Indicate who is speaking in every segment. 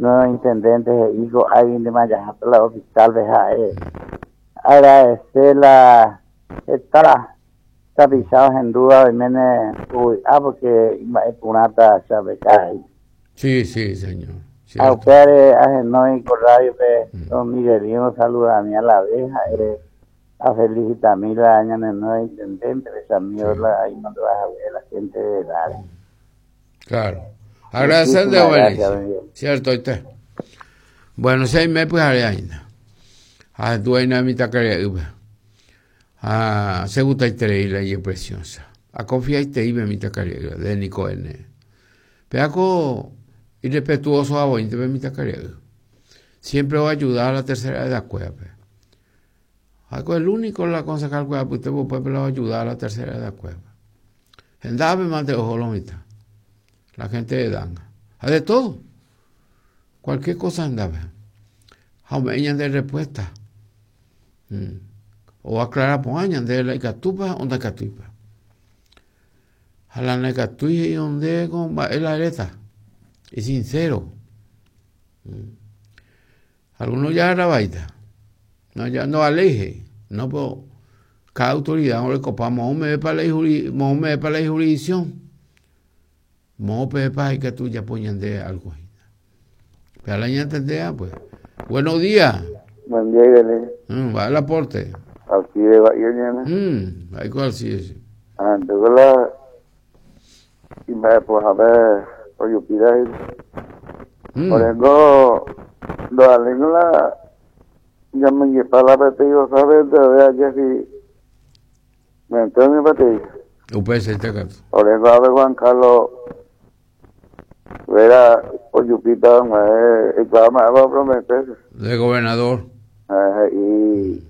Speaker 1: Nuevo intendente he'i ko'águintema jaháta la hospital-pe ha'e agradece la heta tapicha ohendúva oiméne ovy'a porque imba'e porãta chapeka he'i.
Speaker 2: Sí, sí, señor.
Speaker 1: Ha upévare ahenói ko radio-pe don Miguelino saludami a la vez ha'e afelicitami la ñane nuevo intendente-pe chamigo la imandu'a hague la gente de edad-re.
Speaker 2: Claro. Agradecer de obediencia. Cierto, está. Bueno, si me pyhare aína. Ha dueña mitãkaria'ýpe. Ha che gustaiterei la ijepreciosa. Aconfiaiteípe mitãkaria'ýpe, de niko ene. Péako irrespetuoso avoínte pe mitãkaria'y. Siempre oayuda a la tercera edad kuérape. Ha'éko el único la concejal kuéra apytépe upépe la oayuda a la tercera edad kuérape. Hendápe mante oho lo mitã. La gente de edad. Ha de todo. Cualquier cosa hendápe. Ha ome'ẽ ñande respuesta. Mm. O aclara porã ñande la ikatúpa o ndaikatúipa. Ha la ndaikatúi he'i onde ko mba'e la eréta. Es sincero. Mm. Algunos ya vaíta. No, ya no vale, he'i. No, pero cada autoridad orekopa moõ meve pa la ijuri, moõ meve pa la ijurisdicción. Moõ peve pa ikatu ojapo ñande algo hína. Pe la ñantendea, pues. Buenos días.
Speaker 3: Buen día, Irene.
Speaker 2: Va el aporte.
Speaker 3: Alcide Bahía, ñana.
Speaker 2: Ahí con Alcide, sí.
Speaker 3: Ah, entonces la... Y me, pues, a ver, oyupira ahí. Por ejemplo, lo la... Ya me lleva la pete, ¿sabes? De ver ayer si... Me entró en mi pete.
Speaker 2: Upe se te caso.
Speaker 3: Por ejemplo, a ver Juan Carlos... Vera, oyupita, me... Y claro, me va a prometer.
Speaker 2: De gobernador.
Speaker 3: Y...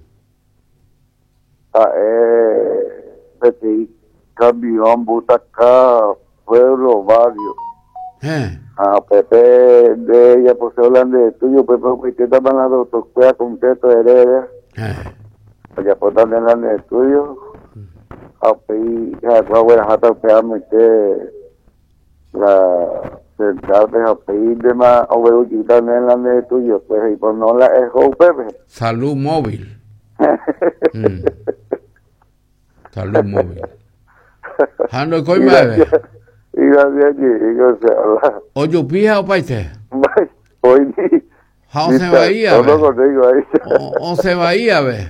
Speaker 3: Peteĩ camión butaka pueblo barrio. Ha upépe nde ejapose la nde tuyo upépe opaitétama la doctor kuéra completo ere ojapóta nde la nde tuyo ha upéi ha'ekuéra ogueraháta upe amoite la central-pe ha upéi ndéma oguerujýta nde la nde tuyo pues he'i pues no la eho upépe.
Speaker 2: Salud móvil. Salud móvil. Ha ndoikói mba'eve. Ojupi ha opaite. Ha osẽ vai ave. Osẽ vai ave.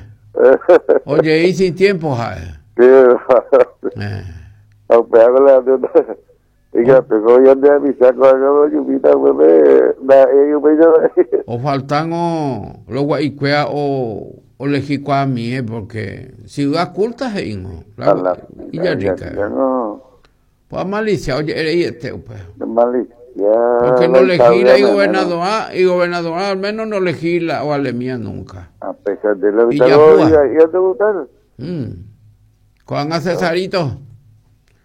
Speaker 2: Ojei sin tiempo ha'e. Ofaltángo los gua'ikuéra olejikuaamie porque ciudad culta he'íngo. Villa Rica. Pues amalicia oje'ereiete upe. Porque no legisla y gobernador, y gobernador al menos no legisla o alemía nunca.
Speaker 3: A pesar de lo que ya te gustaron.
Speaker 2: Ko'ág̃a Cesarito.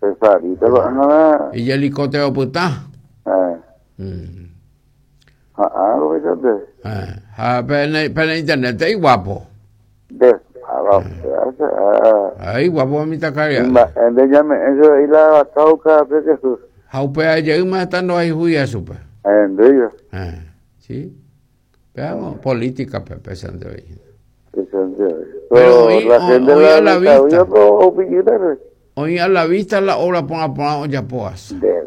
Speaker 3: Cesarito ko'ág̃a.
Speaker 2: Ijelicótero opyta.
Speaker 3: Ha rovechante.
Speaker 2: Ha pene internet iguapo.
Speaker 3: De
Speaker 2: Ay, guapo mitãkaria'y.
Speaker 3: Mba'e nde ñame'ẽ che la cauca pe Jesús.
Speaker 2: Ha upéva jeýma heta ndohayhúi chupe.
Speaker 3: Ahendýjo.
Speaker 2: Sí. Veamos, política pe péichante oĩ.
Speaker 3: Péichante oĩ.
Speaker 2: Pero oĩ,
Speaker 3: la gente
Speaker 2: oĩ
Speaker 3: la
Speaker 2: a la vista.
Speaker 3: dictadura, pero opillita, pe.
Speaker 2: Oĩ a la vista la obra porã porã ojapo asa.
Speaker 3: De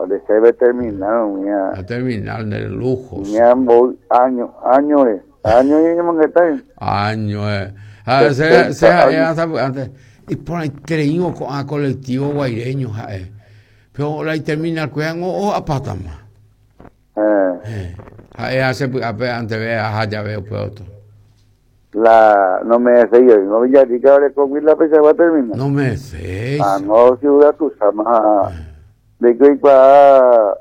Speaker 3: de se ve terminar umía.
Speaker 2: A terminal de lujos.
Speaker 3: Umía mboy año, año re. Año ñeñemongeta.
Speaker 2: Año eh. Ha se se ha'e antes. Iporãitereívo ko'ã colectivo guaireño ha'e. Pero la terminal kuéra ngo o'apátama. Ha'e ha che py'ápe anteve aha jave upe otro.
Speaker 3: La no me sé yo, no Villarrica orekógui la peichagua terminal.
Speaker 2: No me sé.
Speaker 3: Ah, no ciudad Tusama. De que oikuaa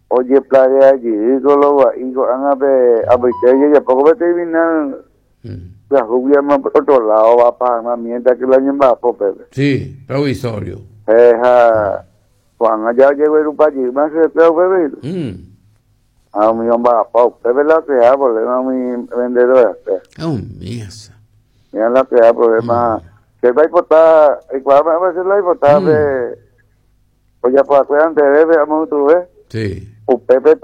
Speaker 3: ojeplagea jey ko lo gua'i ko'ág̃a pe apoite ojejapo ko pe terminal pyahúgui ama otro lado va pa hag̃ua mientras que la ñemba'apo pépe.
Speaker 2: Sí, provisorio.
Speaker 3: Ha Ko'ág̃a ja ojeguerupa jeýma chupekuéra upépe. Ha umi omba'apo upépe la ocrea problema umi vendedora-pe.
Speaker 2: Umi esa.
Speaker 3: Mira la ocrea problema. Chépa aipota, aikuaa mba'épa che la aipota pe ojapo va'ekue anteve pe amoytuve.
Speaker 2: Sí.
Speaker 3: Upépe.